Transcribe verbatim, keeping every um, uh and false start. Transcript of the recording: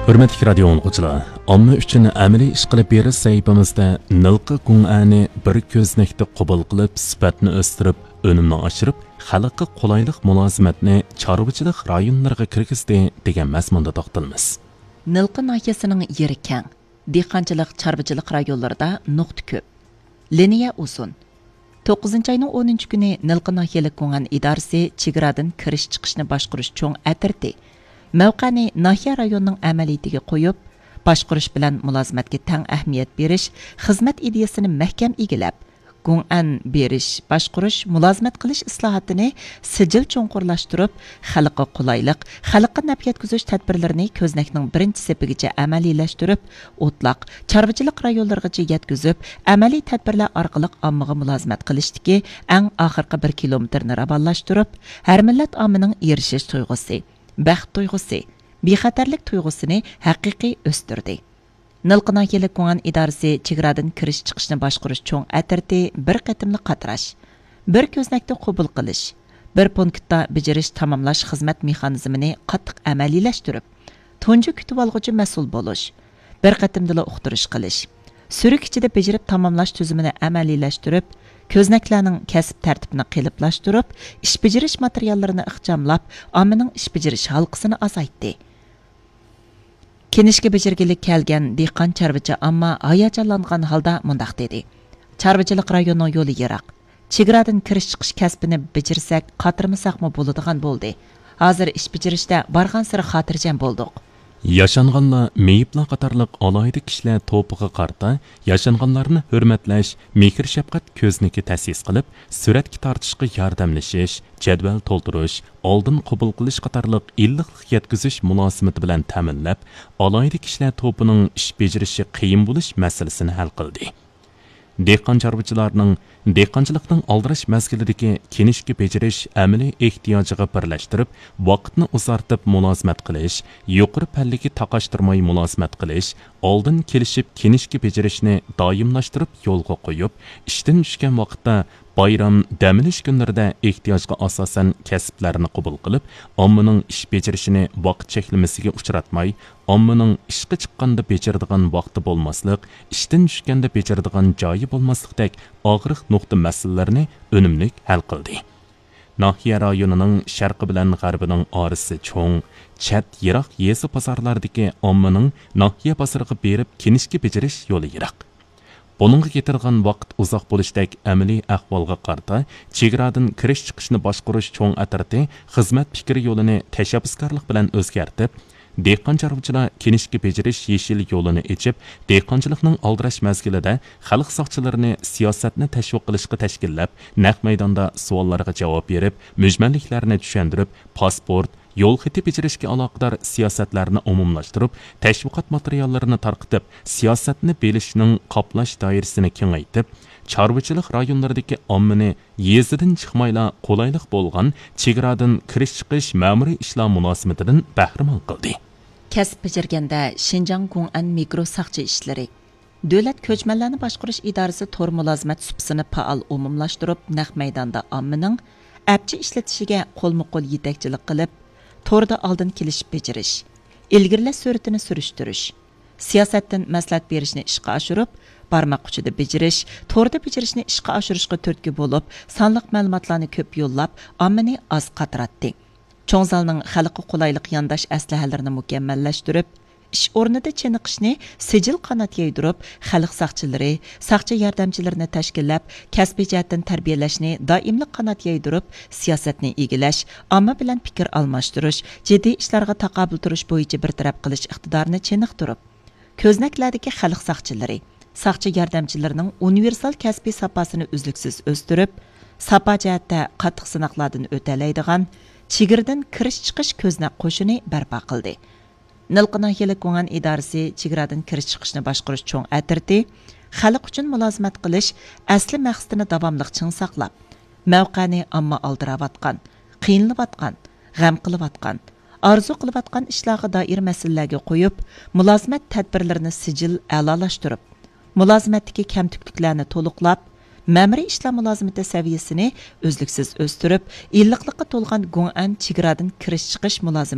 ھۆرمەتلىك رادىيو ئاڭلىغۇچىلار، ئامما ئۈچۈن ئەمەلىي ئىش قىلىپ بېرىش سەھىپىمىزدە نىلقا گۇڭئەنى بىر كۆزنەكتە قوبۇل قىلىپ، سۈپەتنى ئۆستۈرۈپ، ئۈنۈمنى ئاشۇرۇپ، خەلققە قولايلىق مۇلازىمەتنى چارۋىچىلىق رايونلىرىغا كىرگۈزدى دېگەن مەزمۇندا توختىلىمىز. نىلقا ناھىيەسىنىڭ يېرى كەڭ، دېھقانچىلىق، چارۋىچىلىق رايونلىرىدا نۇقتا كۆپ. لىنىيە ئۇزۇن. توققۇزىنچى ئاينىڭ ئونىنچى كۈنى نىلقا ناھىيەلىك گۇڭئەن ئىدارىسى چېگرادىن كىرىش چىقىشنى باشقۇرۇش چوڭ ئەترىتى مەۋقەنى ناھىيە رايونىنىڭ ئەمەلىيىتىگە قويۇپ، باشقۇرۇش بىلەن مۇلازىمەتكە تەڭ ئەھمىيەت بېرىش خىزمەت ئىدىيەسىنى مەھكەم ئىگىلەپ، گۇڭئەن بېرىش، باشقۇرۇش، مۇلازىمەت قىلىش ئىسلاھاتىنى سىجىل چوڭقۇرلاشتۇرۇپ، خەلققە قولايلىق، خەلققە نەپ يەتكۈزۈش تەدبىرلىرىنى كۆزنەكنىڭ بىرىنچى سېپىگىچە ئەمەلىيلەشتۈرۈپ، ئوتلاق، چارۋىچىلىق رايونلىرىغىچە يەتكۈزۈپ، ئەمەلىي تەدبىرلەر ئارقىلىق ئاممىغا مۇلازىمەت قىلىشتىكى ئەڭ ئاخىرقى بىر كىلومېتىرنى راۋانلاشتۇرۇپ، ھەر مىللەت ئاممىنىڭ ئېرىشىش تۇيغۇسى، بەخت تۇيغۇسى، بىخەتەرلىك تۇيغۇسىنى ھەقىقىي ئۆستۈردى. نىلقا ناھىيەلىك گۇڭئەن ئىدارىسى چېگرادىن كىرىش چىقىشنى باشقۇرۇش چوڭ ئەترىتى بىر قېتىملىق قاتراش، بىر كۆزنەكتە قوبۇل قىلىش، بىر پونكىتتا بېجىرىش تاماملاش خىزمەت مېخانىزمىنى قاتتىق ئەمەلىيلەشتۈرۈپ، تۇنجى كۈتۈۋالغۇچى مەسئۇل بولۇش، بىر قېتىمدىلا ئۇقتۇرۇش قىلىش، سۈرۈك ئىچىدە بېجىرىپ تاماملاش تۈزۈمىنى ئەمەلىيلەشتۈرۈپ، كۆزنەكلەرنىڭ كەسىپ تەرتىپىنى قېلىپلاشتۇرۇپ، ئىش بېجىرىش ماتېرىياللىرىنى ئىخچاملاپ، ئاممىنىڭ ئىش بېجىرىش ھالقىسىنى ئازايتتى. كىنىشكا بېجىرگىلى كەلگەن دېھقان چارۋىچى ئامما ھاياجانلانغان ھالدا مۇنداق دېدى: چارۋىچىلىق رايونىنىڭ يولى يىراق. چېگرادىن كىرىش چىقىش كەسپىنى بېجىرسەك، قاترىمىساقمۇ بولىدىغان بولدى. ھازىر ئىش بېجىرىشتە بارغانسېرى خاتىرجەم بولدۇق. ياشانغانلار، مېيىپلار قاتارلىق ئالاھىدە كىشىلەر توپىغا قارىتا ياشانغانلارنى ھۆرمەتلەش، مېھىر-شەپقەت كۆزنىكى تەسىس قىلىپ، سۈرەتكە تارتىشقا ياردەملىشىش، جەدۋەل تولدۇرۇش، ئالدىن قوبۇل قىلىش قاتارلىق ئىللىقلىق يەتكۈزۈش مۇلازىمىتى بىلەن تەمىنلەپ، ئالاھىدە كىشىلەر توپىنىڭ ئىش بېجىرىشى قىيىن بولۇش مەسىلىسىنى ھەل قىلدى. دېھقان چارۋىچىلارنىڭ دېھقانچىلىقنىڭ ئالدىراش مەزگىلىدىكى كىنىشكا بېجىرىش ئەمەلىي ئېھتىياجىغا بىرلەشتۈرۈپ، ۋاقىتنى ئۇزارتىپ مۇلازىمەت قىلىش، يۇقىرى پەللىگە تاقاشتۇرماي مۇلازىمەت قىلىش، ئالدىن كېلىشىپ كىنىشكا بېجىرىشنى دائىملاشتۇرۇپ يولغا قويۇپ، ئىشتىن چۈشكەن ۋاقىتتا، بايرام، دەم ئېلىش كۈنلىرىدە ئېھتىياجغا ئاساسەن كەسىپلەرنى قوبۇل قىلىپ، ئاممىنىڭ ئىش بېجىرىشىنى ۋاقىت چەكلىمىسىگە ئۇچراتماي، ئاممىنىڭ ئىشقا چىققاندا بېجىرىدىغان ۋاقتى بولماسلىق، ئىشتىن چۈشكەندە بېجىرىدىغان جايى بولماسلىقتەك ئاغرىق نۇقتا مەسىلىلىرىنى ئۈنۈملۈك ھەل قىلدى. ناھىيە رايونىنىڭ شەرقى بىلەن غەربىنىڭ ئارىسى چوڭ، چەت، يىراق يېزا بازارلاردىكى ئاممىنىڭ ناھىيە بازىرىغا بېرىپ كىنىشكا بېجىرىش يولى يىراق. بۇنىڭغا كېتىدىغان ۋاقىت ئۇزاق بولۇشتەك ئەمەلىي ئەھۋالغا قارىتا، چېگرادىن كىرىش چىقىشنى باشقۇرۇش چوڭ ئەترىتى خىزمەت پىكرى يولىنى تەشەببۇسكارلىق بىلەن ئۆزگەرتىپ، دېھقان چارۋىچىلار كىنىشكا بېجىرىش يېشىل يولىنى ئېچىپ، دېھقانچىلىقنىڭ ئالدىراش مەزگىلىدە خەلق ساقچىلىرىنى سىياسەتنى تەشۋىق قىلىشقا تەشكىللەپ، نەق مەيداندا سوئاللارغا جاۋاب بېرىپ، مۈجمەللىكلەرنى چۈشەندۈرۈپ، پاسپورت، يول خېتى بېجىرىشكە ئالاقىدار سىياسەتلەرنى ئومۇملاشتۇرۇپ، تەشۋىقات ماتېرىياللىرىنى تارقىتىپ، سىياسەتنى بېلىشنىڭ قاپلاش دائىرىسىنى كېڭەيتىپ، چارۋىچىلىق رايونلىرىدىكى ئاممىنى يېزىدىن چىقمايلا قولايلىق بولغان چېگرادىن كىرىش-چىقىش مەمۇرىي ئىشلار مۇلازىمىتىدىن بەھرىمەن قىلدى. كەسىپ بېجىرگەندە شىنجاڭ گۇڭئەن مىكرو ساقچى ئىشلىرى. دۆلەت كۆچمەنلەرنى باشقۇرۇش ئىدارىسى تور مۇلازىمەت سۇپىسىنى پائال ئومۇملاشتۇرۇپ، نەق مەيداندا ئاممىنىڭ ئەپچى ئىشلىتىشىگە قولمۇ قول يېتەكچىلىك قىلىپ، توردا ئالدىن كېلىشىپ بېجىرىش، ئىلگىرىلەش سۈرئىتىنى سۈرۈشتۈرۈش، سىياسەتتىن مەسلىھەت بېرىشنى ئىشقا ئاشۇرۇپ، بارماق ئۇچىدا بېجىرىش، توردا بېجىرىشنى ئىشقا ئاشۇرۇشقا تۈرتكە بولۇپ، سانلىق مەلۇماتلارنى كۆپ يوللاپ، ئاممىنى ئاز قاتراتتى. چوڭ زالنىڭ خەلققە قولايلىق يانداش ئەسلىھەلىرىنى مۇكەممەللەشتۈرۈپ، ئىش ئورنىدا چېنىقىشنى سىجىل قانات يايدۇرۇپ، خەلق ساقچىلىرى، ساقچى ياردەمچىلىرىنى تەشكىللەپ، كەسپىي جەھەتتىن تەربىيەلەشنى دائىملىق قانات يايدۇرۇپ، سىياسەتنى ئىگىلەش، ئامما بىلەن پىكىر ئالماشتۇرۇش، جىددىي ئىشلارغا تاقابىل تۇرۇش بويىچە بىر تەرەپ قىلىش ئىقتىدارىنى چېنىقتۇرۇپ، كۆزنەكلەردىكى خەلق ساقچىلىرى، ساقچى ياردەمچىلىرىنىڭ ئۇنىۋېرسال كەسپىي ساپاسىنى ئۈزلۈكسىز ئۆستۈرۈپ، ساپا جەھەتتە قاتتىق سىناقلاردىن ئۆتەلەيدىغان چېگرىدىن كىرىش-چىقىش كۆزنەك قوشۇنى بەرپا قىلدى. نىلقا ناھىيەلىك گۇڭئەن ئىدارىسى چېگرادىن كىرىش-چىقىشنى باشقۇرۇش چوڭ ئەترىتى خەلق ئۈچۈن مۇلازىمەت قىلىش ئەسلى مەقسىتىنى داۋاملىق چىڭ ساقلاپ، مەۋقەنى ئامما ئالدىراۋاتقان، قىينىلىۋاتقان، غەم قىلىۋاتقان، ئارزۇ قىلىۋاتقان ئىشلارغا دائىر مەسىلىلەرگە قويۇپ، مۇلازىمەت تەدبىرلىرىنى سىجىل ئەلالاشتۇرۇپ، مۇلازىمەتتىكى كەمتۈكلۈكلەرنى تولۇقلاپ، مەمۇرىي ئىشلار مۇلازىمىتى سەۋىيەسىنى ئۈزلۈكسىز ئۆستۈرۈپ، ئىللىقلىققا تولغان گۇڭئەن چېگرادىن كىرىش-چىقىش مۇلازىمىتى